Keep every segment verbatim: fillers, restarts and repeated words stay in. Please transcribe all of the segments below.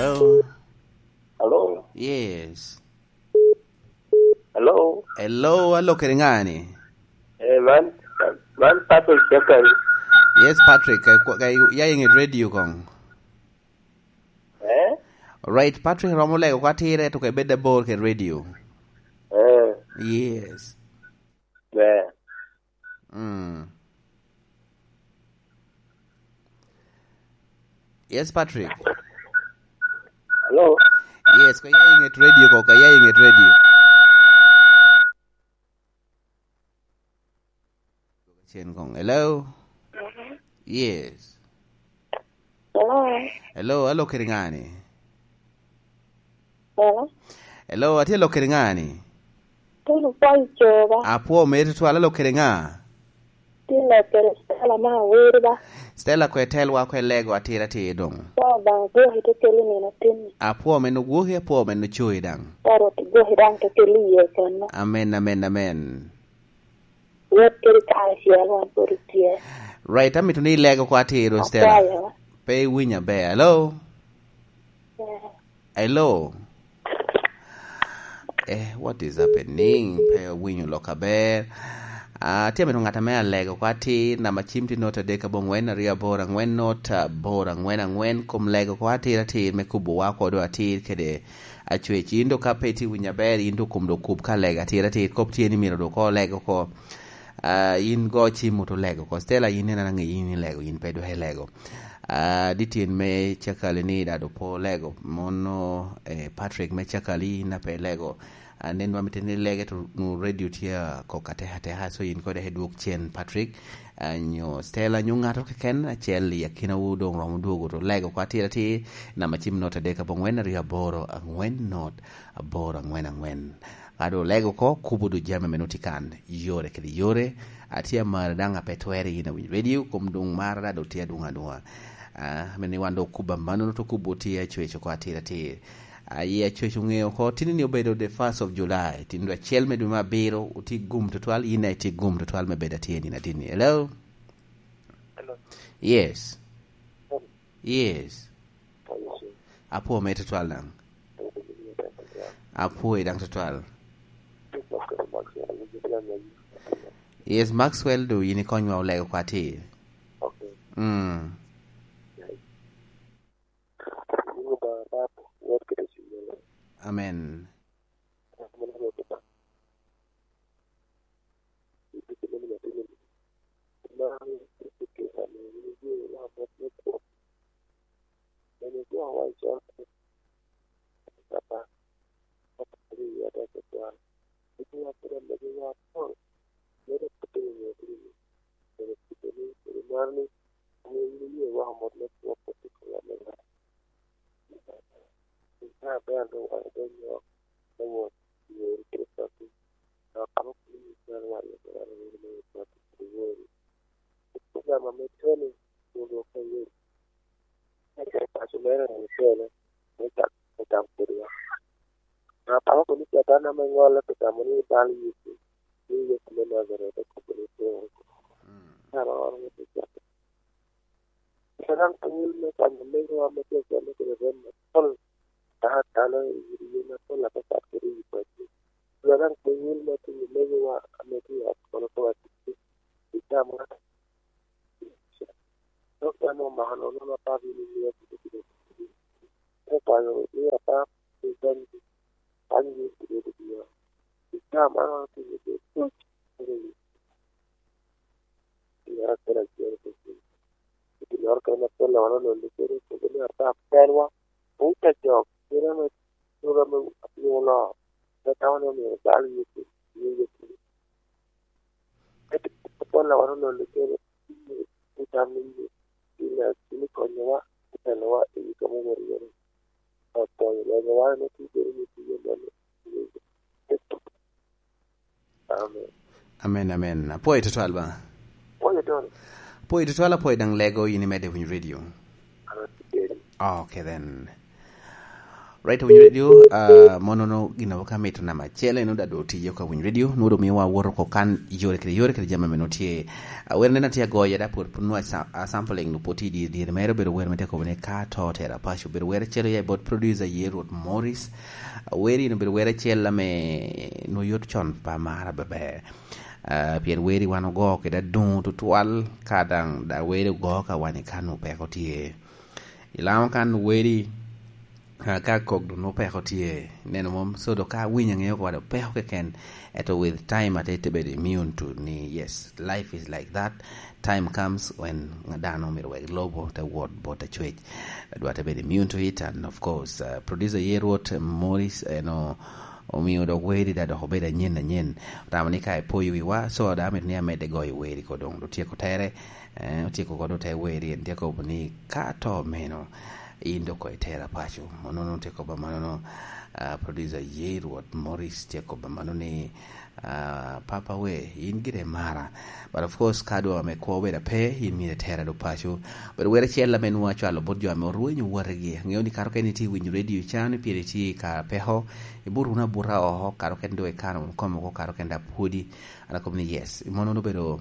Hello. Hello. Yes. Hello. Hello, alo kede ŋa ni? Eh, man, man Patrick Jackson. Yes, Patrick, ka, ka, ya i ŋet radio koŋ. Eh? Right, Patrick romo lego kwa tire to ka ibed abor kede radio. Eh. Yes. Eh. Mm. Yes, Patrick. Hello. Yes, ka ya i ŋet radio ko, ka ya i ŋet radio. Cen koŋ. Hello? Yes. Hello? Hello, alo kede ŋa ni? Hello? Hello, atye lok kede ŋa ni? Tin opwony coba. Apwo mere tutwal, alo kede ŋa? Tin lok kede Stella ma awiri ba. Stella kwe telwa kwe lego atir atir doŋ. Kwo Obaŋa gwoki te keli nino tin. Apwo men ogwoki, apwo men ocoyi daŋ. Kwo Rwot gwoki daŋ te keli iye kono. Amen, amen, amen. Wot kede kare acel wan pwod otye. Right, amito ni ilego kwa atir, Stella. Akwayo. Pe iwinyo aber. Hello? Yeah. Hello? Eh, what is happening? Pe awinyo lok aber. Ah, tye amito ŋat ame alego kwa atir, namba cim tye not adek abongwen, aryo aboro angwen, not aboro angwen angwen, kom lego kwa atir atir me kubo wa kodo atir kede acwec. In do ka pe itye winyo aber, in do kom do kub ka lego atir atir, kop tye ni myero do ko lego ko. Ah, in go cim oto lego ko. Stella, in en anange in ilego, in pe dok ilego. Ah, dityen me cakali ni dado po lego. Mono, eh, Patrick me cakali in ape lego. Ah, nen wa miteni lege to nu radio tye a kok ateka ateka, so in kode he dwok cen Patrick. Ah, nyo Stella, nyo ŋato keken acel i akinawu doŋ romo dwogo to lego kwa atir atir. Namba cim not adek abongwen aryo aboro angwen not aboro angwen angwen. Ka doŋ olego oko, kubo doŋ jami ame nwoŋo tye kan, yore kede yore. Atye amaro daŋ ape twere yin awiny radio, kom doŋ mara daŋ doŋ tye adwoŋ adwoŋa. Ah, ame ni wan doŋ okubo amannono, to kubo tye acwec oko atir atir. Aye acwec oŋeo oko, tini ni obedo the first of July, tin dwe acel me dwe me abiro, otye gum tutwal, yin daŋ itye gum tutwal me bedo atye nino atinni. Hello? Hello. Yes. Hello. Yes. Hello, sir. Apwo me tutwal daŋ. Apwo i daŋ tutwal. Yes, Maxwell, do yin ikonywa olego kwa atir. Okay. Mm. Amen. Ame tye ni, onwoŋo ka yec. Eka i paco mere en ocele, me cak, me cak kodi wa. Apako ni Catan ame ŋolle pi tamo ni bal Yecu, ni Yecu me Najaret okobo ni pe oko. Dano oro me te cak. Pien daŋ piny me kwanyo megowa me tye kene kede rem apol, ka dano i wi yen apol apapat kede i wi pacci. Pien daŋ piny me kwanyo megowa ame tye i ot kono kede aticci, i tamwa. Dok en omako nono na papo ni mio kede kede. Te kwayo ni apap, ni dany, dany ni kede kede. I tamwa, kede kede. Piny acel acel kede. Pi ginnoro kene ame Paulo wan olonyo kede, okobo ni, "Ata pelwa, wun te jok, kite ame, kite ame apiny oloo, ame tamo ni omio bal Yecu, ni Yecu." Ento Paulo wan olonyo kede, ni tam ni, ni, ni konyowa, ni telowa i wi kamo obedo iye-ni. Okonyo loyowa, ame tye kede ni tye mano. Amen. Amen, amen. Apwoyo tutwal ba. Apwoyo tutwal. Apwoyo tutwal, apwoyo daŋ lego, yin imedde winyo radio. Amen. Okay then. Right, Winyo Radio, uh, mono no gin abo ka mito nama chele no da do tiyo ka Winyo Radio, no do miwa woro ko kan yore kede yore kede jama meno tie. Uh, wer nena tie goya da pur pun wa sa-, uh, sampling no poti di di mero bero wer mete ko ne ka to tera pacho bero wer chelo ya bot producer ye Ruth Morris. Uh, wer ino bero wer chela me no yot chon pa mara bebe. Uh, pien weri wan ogo kede adungo tutwal ka dang da weri ogo ka wan i kan opeko tye. Ilamo kan weri Ah, ka kok dun opeko tye, neno mom, so do ka winyo angeyo kwa do peko keken, eto with time ate te bedo immune to ni, yes, life is like that. Time comes when dano myero wek lobo te wot bot acwec. Adwa te bedo immune to it, and of course, uh, producer ye Rwot Morris, eno, omio dok weri da dok obedo anyen anyen. Otamo ni ka ipoyo wiwa, so da amito ni amedde goyo weri ko dong, do tyeko tere, eh, otyeko kodo te weri, en tyeko ni ka to meno, in dok koŋ itera paco. Onono tye kobba manono, ah, producer ye Rwot Morris tye kobba mano ni, ah, Papa we, in gire mara. But of course, ka dwa me kwo bedo ape, in mire tera do paco. But wer acel ame nwa cwalo bot jo ame orwenyo wategi. Angeyo ni kato ken iti winyo radio can, pien iti ka peko, ibut wunu abuta oko, kato ken do ikano wunu kom oko, kato ken da pwodi. An akobo ni yes, mono obedo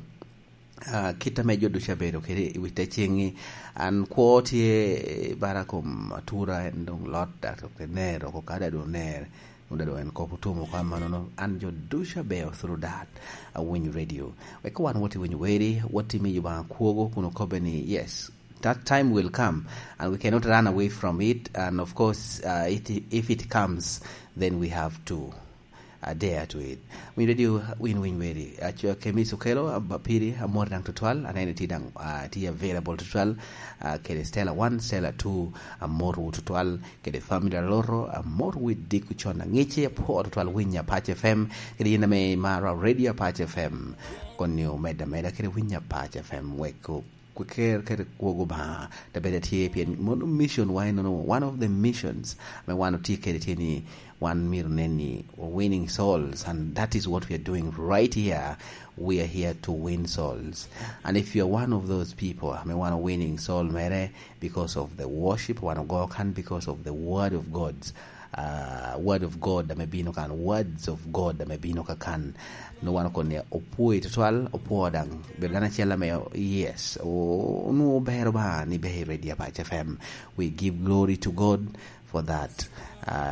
ah, kit ame jo ducu abedo kede i wi te ceŋŋi. An kwo tye bara kom atura, en doŋ lot, dak dok te ner oko, ka da doŋ ner, doŋ da doŋ en kop otum oko amanono. An jo ducu abedo through that, awinyo radio. Wek wan wot i winyo weri, wot i miyo Obaŋa kwogo kun okobbe ni, yes, that time will come and we cannot run away from it. And of course, uh, it, if it comes, then we have to adea to it. Win radio, win win weri. Aco Kemis Okelo, aba piri, amor daŋ tutwal, anene ti daŋ, ah, ti available tutwal, ah, kede Stella one, Stella two, amor wu tutwal, kede family aloro, amor wi diko con angici, apor tutwal winya Apac F M, kede yin ame mara radio Apac F M. Koni omeda meda kede winya Apac F M, wek kwer kede kwogo Obaŋa, te bed atye pien mono mission wa enono, one of the missions ame wan otye kede tye ni wan myero nen ni winning souls, and that is what we are doing right here. We are here to win souls. And if you are one of those people ame wan winning soul mere because of the worship, wan ogo kan because of the word of God, uh, word of God ame bino kan, words of God ame bino ka kan. No wan okon ni opwoi tutwal, opwo daŋ. Bedo dano acel ame, yes, o-, onwoŋo bero ba ni be i Radio Apac F M. We give glory to God for that. Uh,